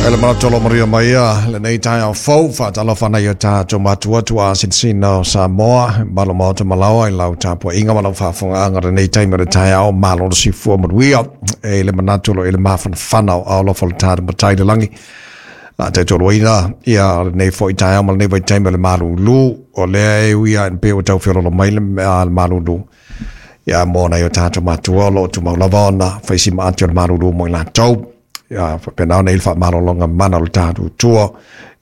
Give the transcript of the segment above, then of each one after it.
E le manatu o lo manuia mai ia lenei taeao fou, faatalofa nai o tatou matua tuaa sinisina o Samoa, malo maota malaoa i lau tapuaiga ma lau faafofogaaga lenei taimi o le taeao, malo le soifua manuia. E le manatu o lo o i le mafanafana o aao alofa o le tatou Matai i le lagi. A taitoluaina ia lenei foi taeao ma lenei vaitaimi o le malulu, o lea e ui lava ina pei ua tau feololo mai le malulu, ia mo nai o tatou matua o lo o tumau lava ona fai si maati o le malulu mo i latou. Ia faapena ona i le faamalologa mana o le tatou Atua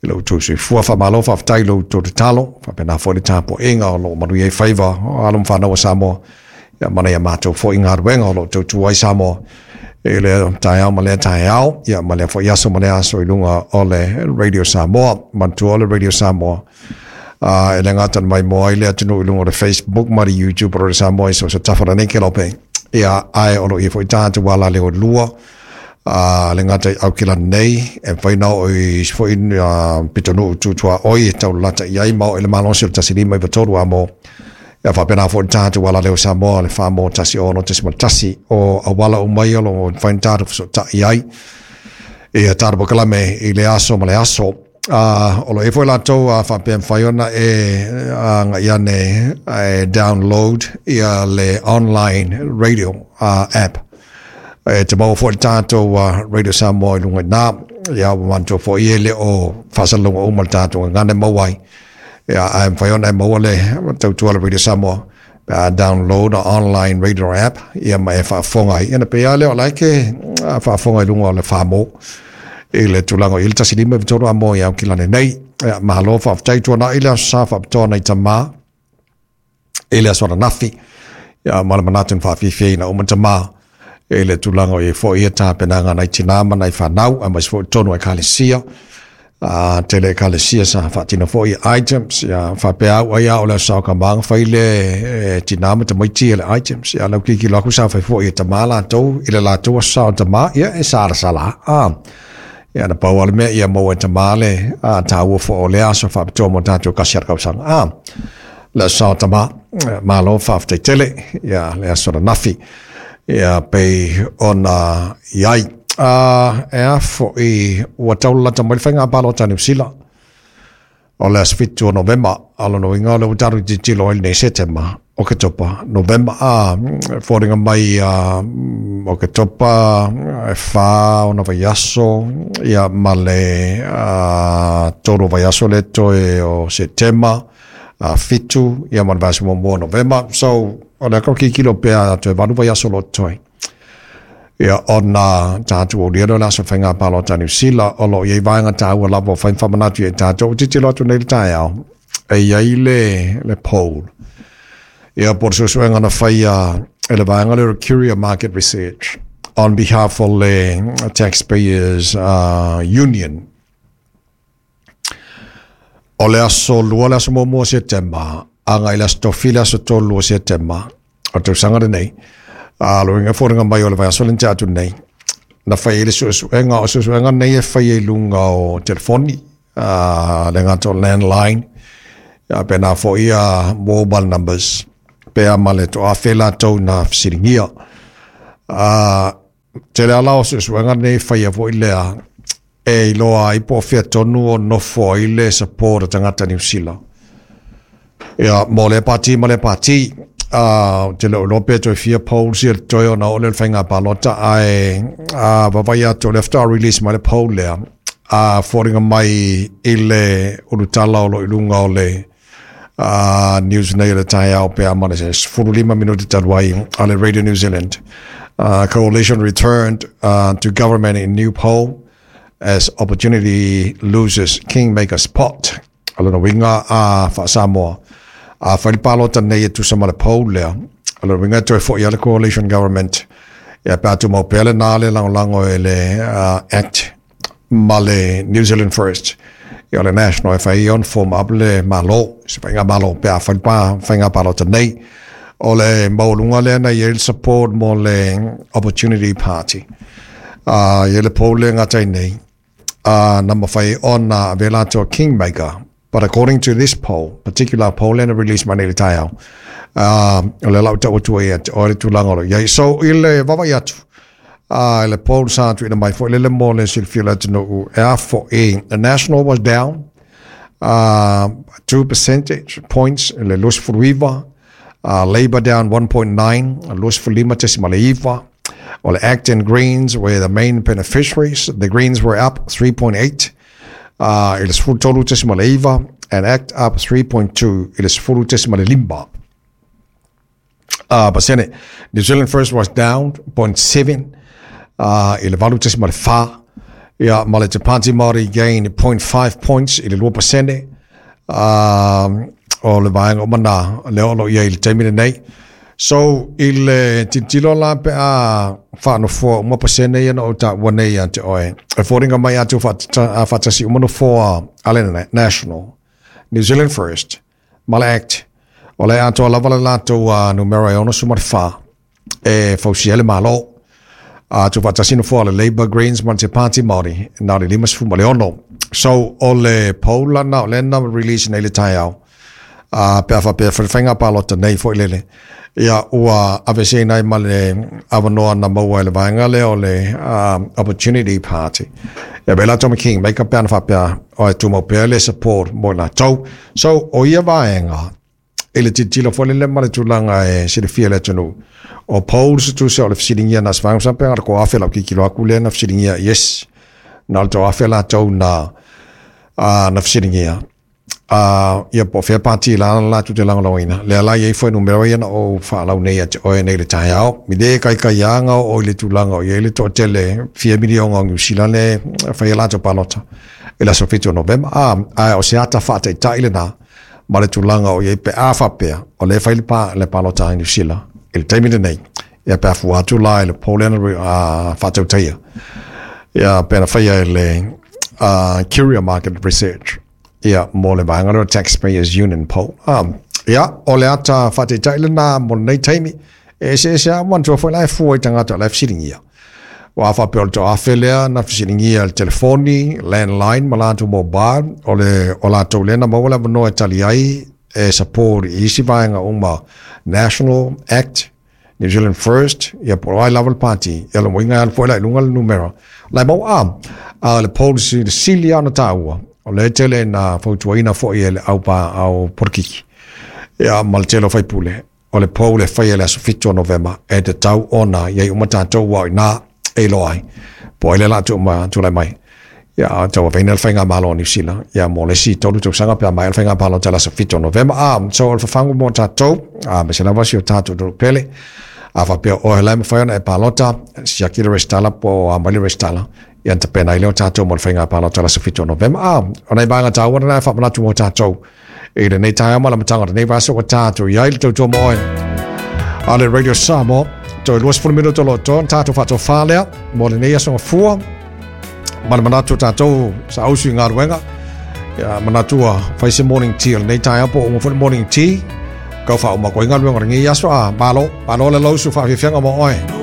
i lo outou soifua. Faamalo faafetai i lo outou tatalo, faapena foi le tapuaiga o lo o manuia ai faiva o alo ma fanau a Samoa, ia ma nai a matou foi galuega o lo o tautua ai Samoa i lea taeao ma lea taeao, ia ma lea foi aso ma lea aso i luga o le Radio Samoa. Manatua o le Radio Samoa, e le gata na maimoa ai le atunuu i luga o le Facebook ma le YouTube o Radio Samoa i so o se tafa o lenei kelope, ia ae o lo o i ai foi tatou alaleo e lua, le gata i Aukilani nei, e mafai ona oo i isi foi pitonuu tutuaoi e taulalata i ai ma oo i le malosi o le 1593 a mo. Ia faapena foi le tatou alaleo Samoa le 4 1 6.1 o auala uma ia o lo o mafai ona tatou fesootai ai ia tatou polokalame i le aso ma le aso. O lo o i ai foi latou faapea e mafai ona e agai ane e download ia le online radio app. E te maua foi le tatou Radio Samoa i luga i ina. Ia ua manatua foi e le o faasalalauga uma le tatou gagana e maua ai. Ia, ae mafai ona e maua le tautua le Radio Samoa pe a download a online radio app, ia ma e faafofoga ai. Ia na pei lava lea o la e ke faafofoga i luga o le 4 i le tulaga o i le 15 3 a mo i Aukilani nei. Ia, malo faafetai tuanai le aso sa faapitoa nai tamā i le aso ananafi. Ia, ma le manatu na faafiafiaina uma tamā i le tulaga o i ai foi ia tapenaga nai tinā ma nai fanau, aemaise foi tonu o ekalesia. Tele ekalesia sa faatino foi ia items, ia faapea au ai a o le aso sa o ka maga fai le tinā ma tamaiti le items. Ia lau kikilo aku sa fai foi e tamā latou i le latou aso sa o tamā, ia e salasala. Ia na pau lava le mea ia maua e tamā le taua foi o lea aso faapitoa mo tatou kasi a le kausaga. Le aso sa o tamā, malo faafetai tele, ia le aso ananafi. Ia pei ona i ai. E a foi ua taulalata mai le faiga palota a Niu Sila o le aso 7 o Novema, a lona uiga o lea ua tatou tilotilo ai lenei Setema, Oketopa, Novema, a foliga mai Oketopa e 4 ona vaiaso, ia ma le 3 vaiaso le toe o Setema, 7, ia ma le vaiaso muamua o Novema. So, o lea kau kikilo pea toe 8 vaiaso lo toe. Ia, ona tatou aulia lea o le aso faiga palota a Niu Sila, o lo o i ai vaega taua lava o fai ma faamanatu i ai tatou. Ua tilotilo atu nei le taeao, e i ai le poll. Ia, po o le suesuega na faia e le vaega lea o le Curia Market Research on behalf o le Taxpayers Union. O le aso 2 le aso 1 o Setema, agai le aso tofi le aso 3 o Setema, o le tausaga lenei, a lo inga foliga mai o le vaiaso le atu nei, na fai ai le suesuega, o suesuega nei e fai ai luga o telefoni, le gata o landline, ia pena foi ia mobile numbers, pe a ma le toafe latou na fesiligia. Tele ala o suesuega nei faia foi lea e iloa ai po o fea tonu o nofo ai le support a tagata Niu Sila. Ia, mo lea pati ma lea pati, te le o iloa pe toe fia polls ia toe ona oo lea o le faiga palota, ae vaavaai atu o lea faatoa release mai le poll lea, foliga mai i le ulutala o lo o i luga o le news nei o le taeao pe a ma le 15 minuti talu ai a le Radio New Zealand. Coalition returned to government in new poll as Opportunity loses kingmaker spot. O lona uiga a faa-Samoa, a fai le palota nei e tusa ma le poll lea, o lona uiga e toe foi lava le coalition government, ia pe a tumau pea lena le lagolago e le Act ma le New Zealand First. Ia o le National e fai ona form up le malo, se faiga malo pe a fai le faiga palota nei. O le maualuga lea na i ai le support mo le Opportunity Party. I ai le poll lea gata ai nei, na mafai ona avea latou kingmaker. But according to this poll, particular poll lea na release mai nei le taeao, o le lau tau atu ai o le tulaga o lo o i ai. So, i le vaavaai atu, I le poll sa tuuina mai foi lele mo le silafia o le atunuu e a fo'i. The National was down 2 percentage points i le 29, Labour down 1.9, 25.9. O le ACT and Greens were the main beneficiaries. The Greens were up 3.8 i le 13.9 and ACT up 3.2 i le 10.5 pasene. New Zealand First was down 0.7 i le 8.4. Ia, ma le Te Pāti Māori gained 0.5 points i le 2%. O le vaega uma na lea o lo o i ai i le taimi lenei. So, i le tilotilo la pe a faanofoa uma pasene ia na ou taua nei ia te oe, e foliga mai a faatasi uma nofoa a le National, New Zealand First, ma le ACT, o le atoa lava le latou numera e 64 e fausia ai le Malo. A tuufaatasi nofoa a le Labour, Greens ma le Te Pāti Māori, na o le 56. So, o le poll la na o lea na release nei le taeao, a pe a faapea foi le faiga palota nei foi lele, ia ua aveeseina ai ma le avanoa na maua e le vaega lea o le Opportunity Party. Ia pei la Tommy King, mai ka pe ana faapea o e tumau pea le support mo i latou. So, o ia vaega, i le tilotilo foi lele ma le tulaga e silafia e le atunuu, o polls tusa o le fesiligia na se vaega masalo pe na o le 1000 lau tilotilo atu lea na fesiligia, yes, na o le 1000 latou na, na fesiligia. Ia po o fea pati la latou te lagolagoina. Lea la e i ai fuainumera ia na ou faalau nei ia te oe nei i le taeao. I le kaikaiaga o i le tulaga o i ai le toatele fia miliona o Niu Sila le fai a latou palota i le aso 7 o Novema. Ae o se ata faataitai lena ma le tulaga o i ai pe a faapea o lea e fai le, pa, le palota a Niu Sila i le taimi lenei. Ia pe a fua atu la i le poll lea na faatautaia. Ia pe na faia e le Curia Market Research. Ia, mo le vaega lea o Taxpayers Union Poll. Ia, o le ata faataitai lena mo lenei taimi. E eseese lava, manatua foi la e fua i tagata o la e fesiligia. Ua a faapea o le toafe lea na fesiligia i le telefoni, landline ma latou mobile, o le o latou lea na maua le avanoa e tali ai e support i isi vaega uma National Act, New Zealand First, ia po o ai lava le pati, ia lona uiga e alu foi la i luga le numera. La e maua a, a le policy le sili lava ona taua, o lea e tele na fautuaina foi e le au pa au polokiki. Ia ma le tele o faipule, o le poll e faia i le aso 7 o Novema, e tatau ona i ai uma tatou aua o i ina e iloa ai po o ai lea o le a tulai mai. Ia, tauaveina le faigamalo a Niu Sila, ia, mo le isi 3 tausaga pe a maea le faiga palota i le aso 7 o Novema. A, so o le fafagu mo tatou, aemaise lava si o tatou atunuu pele, a faapea o oe la e mafai ona e palota, siaki le resitala po o a mai le resitala, ia ona tapena ai lea o tatou mo le faiga palota i le aso 7 o Novema. A, o nai vaega taua na e faamanatu mo tatou i lenei taeao ma le amataga o lenei vaiaso ua tatou i ai le tautua mo oe. A le Radio Samoa, toe 20 minuto o lo o totoe ona tatou faatofā lea mo lenei aso gafua. Ma le manatu o tatou saausi i galuega. Ia, manatu ua fai se morning tea o lenei taeao po o uma foi le morning tea. Kau faauma atu ai galuega o lenei aso. A, malo, malo le lausu faafiafiaga mo oe.